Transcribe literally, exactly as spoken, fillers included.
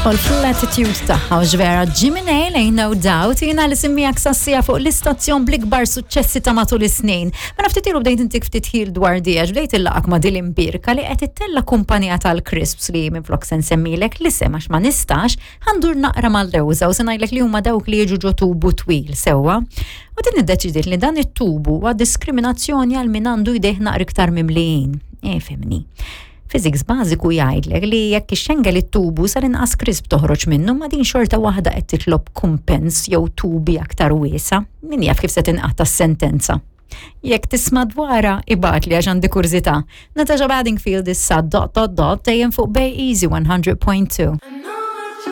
Tidħol fl-attitude tagħha u ġvera Jimmy Nail, Ain't No Doubt, jiena li semmijak sassija fuq l-istazzjon bl-ikbar suċċessi ta' matul is-snin. Ma naftit ilu bdejt intik ftit ħil dwar di għax bdejt illaqak ma' dil imbirka li qed ittella kumpanija tal-crisps li minflok se nsemmilek li għax ma nistax, ħa ndur naqra mal-lewża u se ngħidlek li huma dawk li jiġu ġo tubu twil sewwa. U din iddeċidiet li dan it-tubu huwa diskriminazzjoni għal min għandu jdejh naqra iktar mimlijin. E fimni. Physics bażiku jgħidlek li jekk ixxengel it-tubu sar inqas crisp toħroġ minnu, ma din xorta waħda qed titlob kumpens jew tubi aktar wiesa. Min jaf kif se tinqata' s-sentenza. Jekk tisma' dwarha, ibgħatli għax għandi kurżità. Natasha Bedingfield issa dot dot dot dejjem fuq Bay Easy one hundred point two.